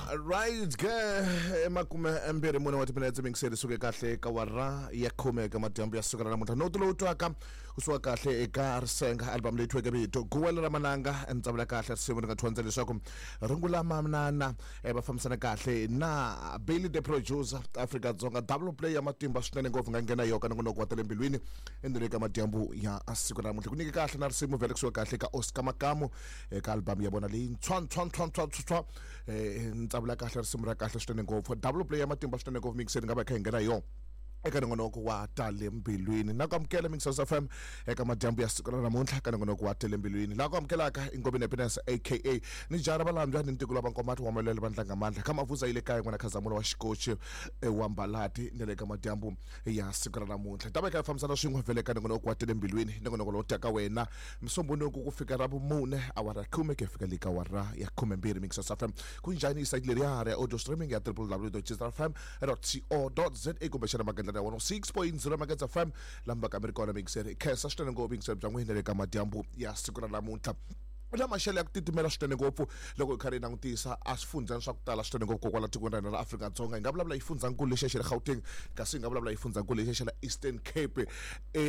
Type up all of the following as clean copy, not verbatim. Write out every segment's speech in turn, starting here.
Right ke, 24 wa timinetse mingiseri suke kahle ka wara ya khume eka madyambu ya siku ra namuntlha. Noto lowu twaka kusuka kahle eka Risenga, album leyi thyiweke vito Guwela ra Mananga. Ntsavula kahle risimu ri nga thwandza leswaku rungula manana va fambisana kahle na Billy the Producer, Afrika-Dzonga. Double play ya matimba swinene ngopfu nga nghena yoka nongonoko wa tele mbilwini endzeni ka madyambu ya siku ra namuntlha. Ku nyike kahle na risimu vhele kusuka kahle ka Oscar Makamu eka album ya vona leyi ntshwa ntshwa ntshwa ntshwa ntshwa. Ntsavula kahle risimu ra kahle swinene ngopfu, double play ya matimba swinene ngopfu mixeni nga va kha hi nghena yona eka nongonoko wa tale mbilwini. Na ku amukela Mixers FM eka madyambu ya siku ra namuntlha ka nongonoko wa tele mbilwini. Laha ku amukelaka i Ngobeni Happiness, aka ni jara valambya ni ntiko lava nkomati wa malwele va ndlangamandla ka mavuza yi le kaya n'wana Khazamula wa xikochi wa Mbalati. Ni le ka madyambu ya siku ra namuntlha ta va kha hi fambisana swin'we vhele ka nongonoko wa tele mbilwini, nongonoko lowu taka wena Msombuluko ku fika ra vumune awara ya khume ku ya fika le ka awara ya 12. Mixers FM, ku njhani? Site leriya ra audio streaming ya www.jfm.co.za kumbexana magandlana ya 106.0 Magedza FM lama va ka mi ri kona. Mixer khensa swinene ngopfu mixer bya n'wina le ka madyambu ya siku ra namuntlha. Na maxelo ya ku titimela swinene ngopfu loko hi karhi hi langutisa a swifundzani swa ku tala swinene ngopfu kokwala tikweni ra hina ra Afrika-Dzonga. Hi nga vulavula hi xifundzankulu lexiya xa le Gauteng, kasi hi nga vulavula hi xifundzankulu lexiya xa le Eastern Cape,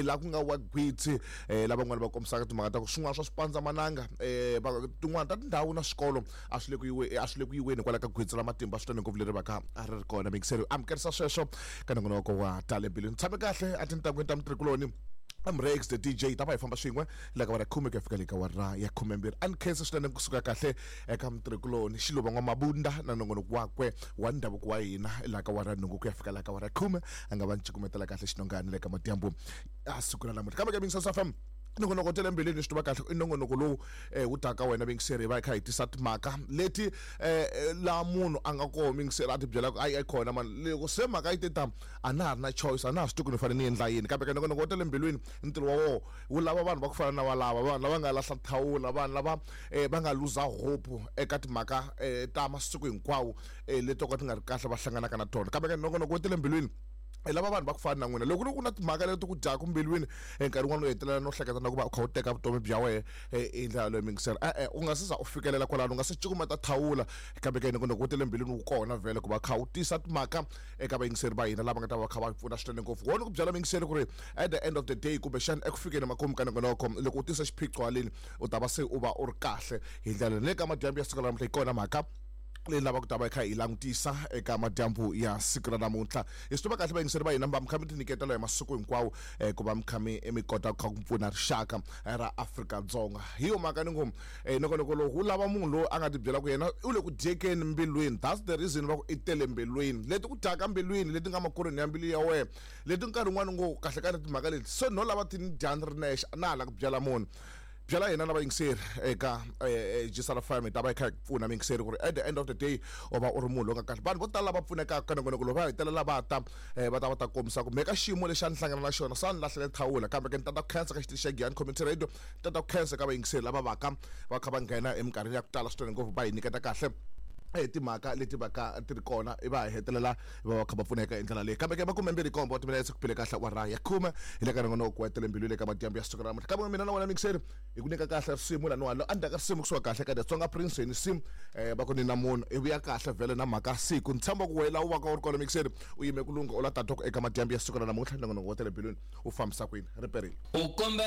laha ku nga wa gwitsi, lavan'wana va kombisaka timhaka ta ku swin'wana swa swipandzamananga, tin'wana ta tindhawu na swikolo a swi le ku yiwe a swi le ku yiweni hikwalaho ka gwitsi ra matimba swinene ngopfu leri va ka a ri ri kona. Mingiseri amukerisa sweswo ka nongonoko wa tale mbilwini. Tshame kahle a tintangwini ta mutirhikuloni. I'm Rex the DJ, ta va hi famba swin'we la ka wara khume ku ya fika le ka wara ya 12. A ni khensa swinene kusuka kahle eka mutirhikuloni Xiluva N'wamabunda na nongonoko wakwe wa ndhavuko wa hina la ka wara nhungu ku ya fika la ka wara khume. A nga va ni cukumetela kahle xinongani le ka madyambu a siku ra namuntlha. Kambe ka Mingisasa FM, nongonoko tele mbilwini, swi tiva kahle i nongonoko lowu wu taka wena mingiseri hi va hi kha hi tisa timhaka leti laha munhu a nga koho mingiseri a ti byela ku ayi ayi kona mani loko se mhaka yi te ta a na ha ri na choice, a na ha swi tivi ku ni fanele ni endla yini. Kambe ka nongonoko wa tele mbilwini, ntirho wa woho wu lava vanhu va ku fana na valava, vanhu lava nga lahla thawula, vanhu lava va nga luza hope eka timhaka ta masiku hinkwawo leti to ka ti nga ri kahle va hlanganaka na tona. Kambe ka nongonoko wa tele mbilwini hi lava vanhu va ku fana na n'wina. Loko ku ri ku na timhaka leti ku dyaka mbilwini, nkarhi wun'wana u hetelela no hleketa na ku va u kha u teka vutomi bya wena hi ndlela yaleyo mingisela, e-e, u nga se za u fikelela kwalano, u nga se cukumeta thawula. Kambe ke nongonoko wo tele mbilwini wu kona vhele ku va kha wu tisa timhaka eka vayingiseri va hina lava nga ta va kha va pfuna swinene ngopfu. Wona ku byela vayingiseri ku ri at the end of the day, kumbexana eku fikeni makumu ka nongonoko, loko u tisa xiphiqo haleni u ta va se u va u ri kahle hi ndlela le ka madyambu ya siku ra namuntlha. Hi kona mhaka leyi lavaka ku ta va hi kha hi langutisa eka madyambu ya siku ra namuntlha. Hi swi tiva kahle vayingiseri va hina va mi kha mi tinyiketela hi masiku hinkwawo ku va mi kha mi mi kota ku kha ku pfuna rixaka ra Afrika-Dzonga. Hi yo mhaka ni ngo nongonoko lowu wu lava munhu loyi a nga tibyela ku yena u le ku dyekeni mbilwini. That's the reason va ku i tele mbilwini, leti ku dyaka mbilwini, leti nga makorhweni ya mbilu ya wena, leti nkarhi wun'wani ngo kahle kahle timhaka leti se no lava ti ni dya ni ri nexe, a na ha la ku byela munhu. Byela hina na vayingiseri eka Gisela FM, hi ta va hi kha hi pfuna muyingiseri ku ri at the end of the day u va u ri munhu loyi nga kahle. Vanhu vo tala lava pfunekaka ka nongonoko lowu va hetelela va ta va ta va ta kombisa ku me ka xiyimo lexi a ni hlangana na xona sa ni lahlele thawula. Kambe ke ni tata ku khensa ka xitichi xa Giyani Community Radio, ni tata ku khensa ka vayingiseri lava vaka va kha va nghena eminkarhini ya ku tala swinene ngopfu va hi nyiketa kahle timhaka leti va ka ti ri kona, va hetelela va va kha va pfuneka hi ndlela leyi. Kambe ke 27 wa timinetse ku bile kahle awara ya khume hi le ka nongonoko wa tele mbilu le ka madyambu ya siku ra namuntlha. Kambe mina na wena mixeri hi ku nyika kahle risimu laniwa lo endzhaku ka risimu kusuka kahle ka Tsonga Prince hi nsimu va ku ni na munhu i vuya kahle vhele na mhaka siku. Ni tshemba ku wena u va ka u ri kona mixeri u yime ku lungha u la tatoko eka madyambu ya siku ra namuntlha. Nongonoko wa tele mbilwini wu fambisa kwini ri perile. U kombela.